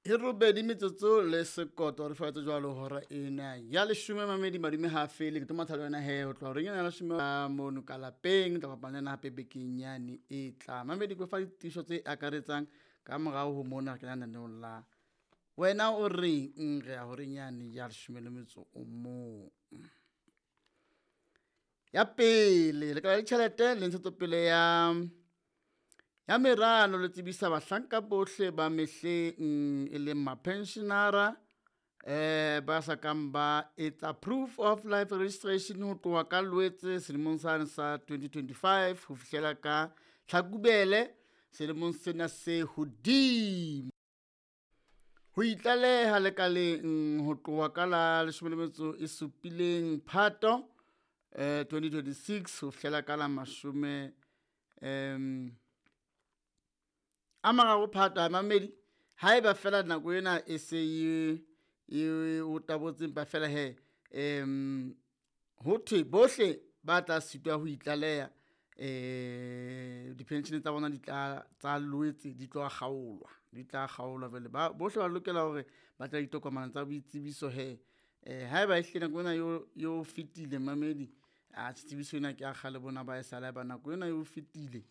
E robedi metsotso le sekoto re faetse jwalo hora ena ya leshome. Mamedi, madume ha fele, ke tlo matha le wena he ho tloha horeng ena ya leshome mono ka lapeng. Tla kopana le ena hape bekeng yane e tlang. Mamedi, ke fa ditiiso tse akaretsang ka morao ho mona re kena lenaneong la wena o reng, re ya horeng yane ya leshome le metso o mong. Ya pele, lekala la ditjhelete le ntshetsopele ya meralo le tsebisa bahlanka bohle ba mehleng e leng mapensionara ba sa kang ba etsa proof of life registration ho tloha ka Loetse selemong sane sa 2025 ho fihlela ka Tlhakubele selemong sena se hodimo. Ho itlaleha lekaleng ho tloha ka la leshome le metso e supileng Phato 2026 ho fihlela ka la mashome a mararo Phato. A mamedi, haeba fela nako ena e se e o tabotse, empa fela he ho thwe bohle ba tla sitwa ho itlaleha, dipenshene tsa bona di tla tsa Loetse di tlo kgaolwa, di tla kgaolwa. Jwale ba bohle ba lokela hore ba tla ditokomane tsa boitsebiso he. Haeba ehlile nako ena yo fetile, mamedi, a tsebiso ena ke ya kgale bona ba e sala ba nako ena eo fetile.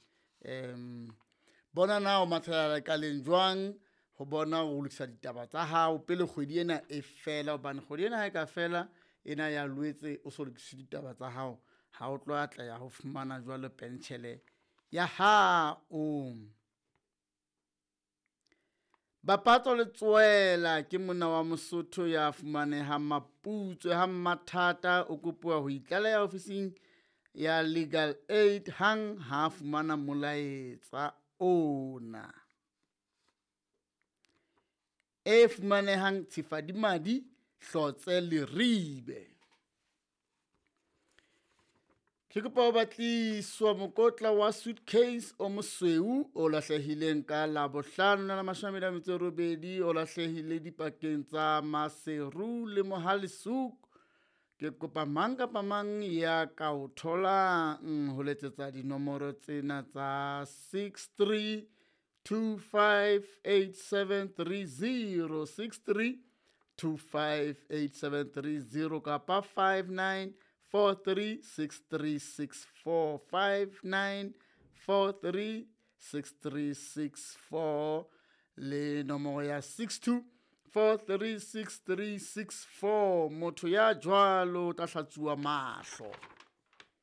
Bona na o mathela lekaleng jwang ho bona ho lokisa ditaba tsa hao pele kgwedi ena e fela, hobane kgwedi ena ha e ka fela ena ya Loetse o so lokise ditaba tsa hao, ha o tlo atleha ho fumana jwalo pentjhele ya hao. Bapatso Letsoela ke monna wa Mosotho ya fumanehang Maputswe ha Mmathata, o kopuwa ho itlaleha ofising ya Legal Aid hang ha fumana molaetsa ona. E fumanehang Tshifadimadi Hlotse Leribe. Ke kopa ho batliswa mokotla wa suitcase o mosweu o lahlehileng ka Labohlano la 28, o lahlehile dipakeng tsa Maseru le Mohale'shoek. Ke kopa mang kapa mang ya ka o tholang ho letsetsa dinomoro tsena tsa 63 25 8730, 63 25 8730 kapa 59 43 6364, 59 43 6364 le nomoro ya 62 43 6364. Motho ya jwalo o tla hlatsuwa mahlo.